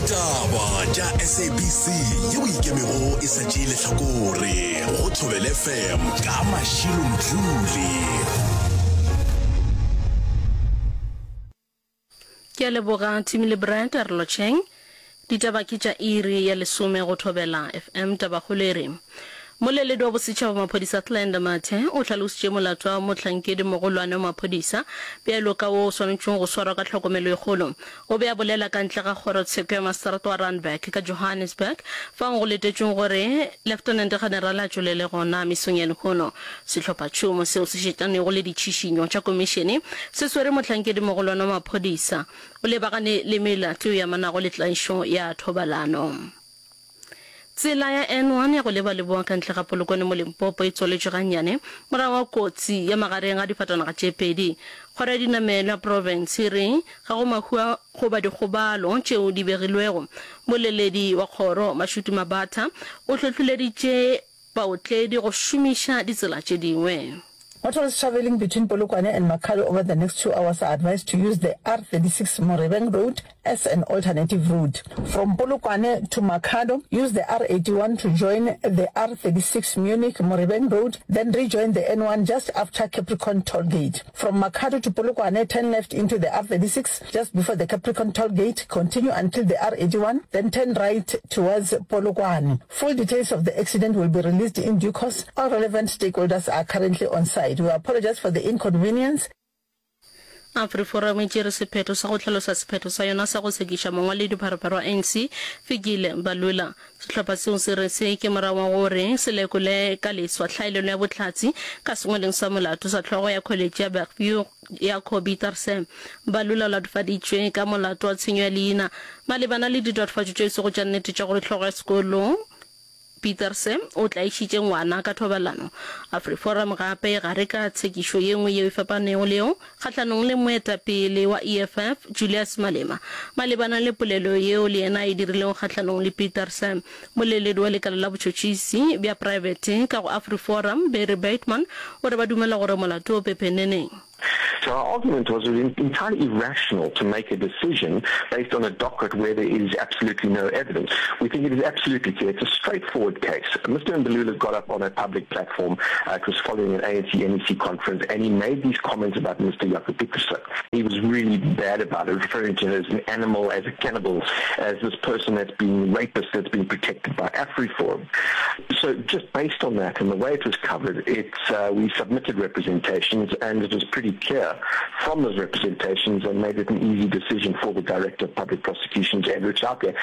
Ditaba tša SABC yeo e ikemego e sa tšee lehlakore go Thobela FM ka Mashilo Mdluli. Ke a leboga Timmy le Brad, a re lotšheng. Ditaba ke tša iri ya lesome go Thobela FM. Tabakgolo e re, Moleledi wa bosetšhaba wa maphodisa Clenda Mathe o hlalositše molato wa mohlankedi mogolwane wa maphodisa bjalo ka wo o swanetšwego go swarwa ka tlhokomelo e kgolo. O be a bolela ka ntle ga kgorotsheko ya maseterata wa Randburg ka Johannesburg fao go letetšwego gore Leftenente-Generale a tšwelele gona mesong ya lehono. Sehlophatšhomo seo se šetšanego le ditšhišinyo tša komišene se swere mohlankedimogolwane wa maphodisa o lebagane le melato yeo e amanago le tlaišo ya thobalano. Tsela ya N1 ya go leba leboa ka ntle ga Polokwane mo Limpopo e tswaletšwe gannyane morago ga kotsi ya magareng ga difatanaga tše pedi. Kgoro ya dinamelo ya profense e re ga go mahu a goba dikgobalo tšeo di begilwego. Moleledi wa kgoro, Mashudu Mabatha, o hlohleleditše baotledi go šomiša ditsela tše dingwe. Motorists travelling between Polokwane and Makhado over the next two hours are advised to use the R36 Morebeng Road as an alternative route. From Polokwane to Makhado, use the R81 to join the R36 Munich Morebeng Road, then rejoin the N1 just after Capricorn Toll Gate. From Makhado to Polokwane, turn left into the R36 just before the Capricorn Toll Gate, continue until the R81, then turn right towards Polokwane. Full details of the accident will be released in due course. All relevant stakeholders are currently on site. We apologise for the inconvenience. AfriForum e tšere sephetho sa go hlalosa sephetho sa yona sa go sekiša mongwaledipharephare wa ANC, Fikile Mbalula. Sehlopha seo se re se ke morago ga gore se lekole ka leswa tlhaelelo ya bohlatse ka sengwaleng sa molato sa hlogo ya kholetše ya Bergview ya Kobe Tarse. Mbalula o latofaditšwe ka molato wa tshenyo ya leina malebana le ditatofatšo tše e sego tša nnete tša gore hlogo ya sekolo Pieterse o tlaišitše ngwana ka thobalano. AfriForum gape e gare ka tshekišo ye nngwe yeo e fapanego le yeo kgahlanong le moetapele wa EFF Julius Malema malebana le polelo yeo le yena a e dirilego kgahlanong le Pieterse. Moleledi wa lekala la botšhotšhisi bja praebete ka go AfriForum Barry Bateman o re ba dumela gore molato o pepeneneng. So our argument was it was entirely irrational to make a decision based on a docket where there is absolutely no evidence. We think it is absolutely clear. It's a straightforward case. Mr. Mbalula got up on a public platform. Uh, it was following an ANC NEC conference, and he made these comments about Mr. Jaco Pieterse. He was really bad about it, referring to him as an animal, as a cannibal, as this person that's been rapist that's been protected by AfriForum. So just based on that and the way it was covered, it uh, we submitted representations and it was pretty clear from those representations and made it an easy decision for the Director of Public Prosecutions, Andrew Chauke.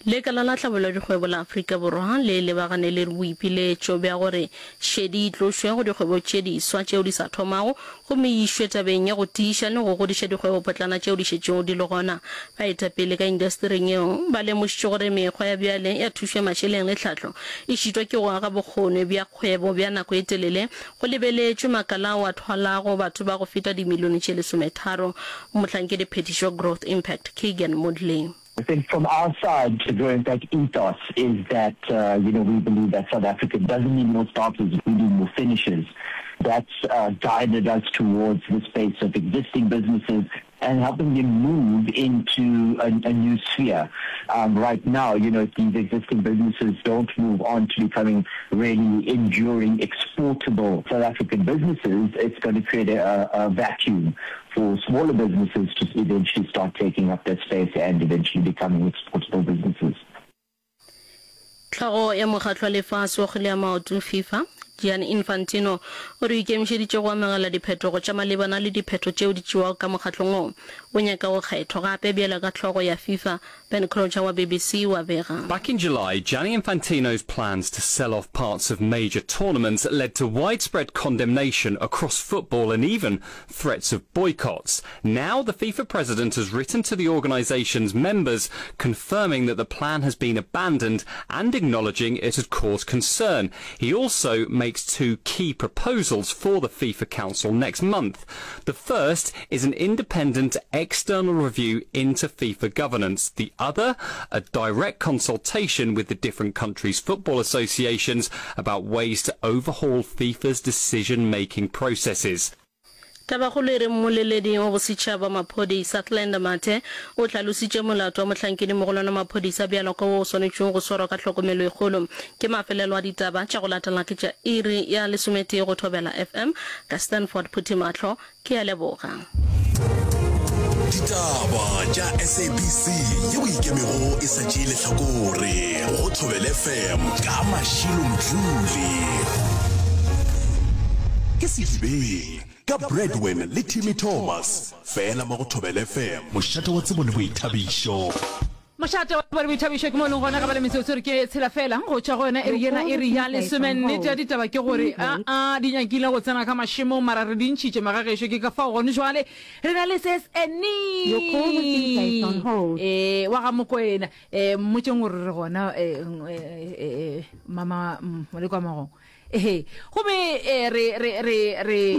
Lekala la Tlhabollo ya Dikgwebo la Afrika Borwa le lebagane le boipiletšo bja gore šedi e tlošwe go dikgwebo tše diswa tšeo di sa thomago gomme e išwe tabeng ya go tiiša le go godiša dikgwebopotlana tšeo di šetšego di le gona. Baetapele ka indastering yeo ba lemošitše gore mekgwa ya bjale ya thušo ya mašeleng le tlhahlo e šitwa ke go aga bokgoni bja kgwebo bja nako e telele go lebeletšwe makala ao a thwalago batho ba go feta dimilione tše lesometharo. Mohlankedi-phethiši wa Growth Impact, Keegan Moodley. I think from our side, the Grow Impact ethos is that, uh, you know, we believe that South Africa doesn't need more starters, we need more finishers. That's uh, guided us towards the space of existing businesses and helping them move into a, a new sphere. Um, right now, you know, if these existing businesses don't move on to becoming really enduring, exportable South African businesses, it's going to create a, a vacuum for smaller businesses to eventually start taking up that space and eventually becoming exportable businesses. Hlogo ya mokgatlo wa lefase wa kgwele ya maoto, FIFA, Gianni Infantino o re o ikemišeditše go amogela diphetogo tša malebana le diphetho tšeo di tšewago ka mokgatlong wo o nyaka go kgethwa gape bjalo ka hlogo ya FIFA. Ben Crocher wa BBC o a bega. Back in July, Gianni Infantino's plans to sell off parts of major tournaments led to widespread condemnation across football and even threats of boycotts. Now the FIFA president has written to the organisation's members confirming that the plan has been abandoned and acknowledging it had caused concern. He also makes two key proposals for the FIFA Council next month. The first is an independent external review into FIFA governance. The other, a direct consultation with the different countries' football associations about ways to overhaul FIFA's decision-making processes. Tabakgolo e re Mmoleledi wa Bosetšhaba wa Maphodisa Glenda Mathe o hlalositše molato wa mohlankedi-mogolwane wa maphodisa bjalo ka wo o swanetšwego go swarwa ka hlokomelo e kgolo. Ke mafelelo a ditaba tša go latela ke tša iri ya lesometee go Thobela FM ka Stanford Phuthimahlo. Ke a leboga. Ditaba tša SABC yeo e ikemego e sa tšee lehlakore go Thobela FM ka Mashilo Mdluli. Ke Sedibeng ka Bradwin le Timmy Thomas fela mo go Thobela FM, mošate wa tsebo le boithabišo. Mošate wa tsebo le boithabišo ke mo e leng gona ga ba le metsotso re ke tshela fela go tšwa go yona iri yena iri ya lesome. Nnete ya ditaba ke gore aa di nyakile go tsena ka mašemong mara re di ntšhitše magagešo ke ka fao gone jwale re na le ses Annie ee wa ga Mokoena ee mmotšeng gore re gona ee mama Molekwa Magong ee gomme re re re re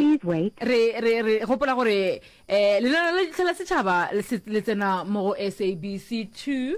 re re re gopola gore Lenaneo la Ditlha la Setšhaba le tsena mo go SABC 2.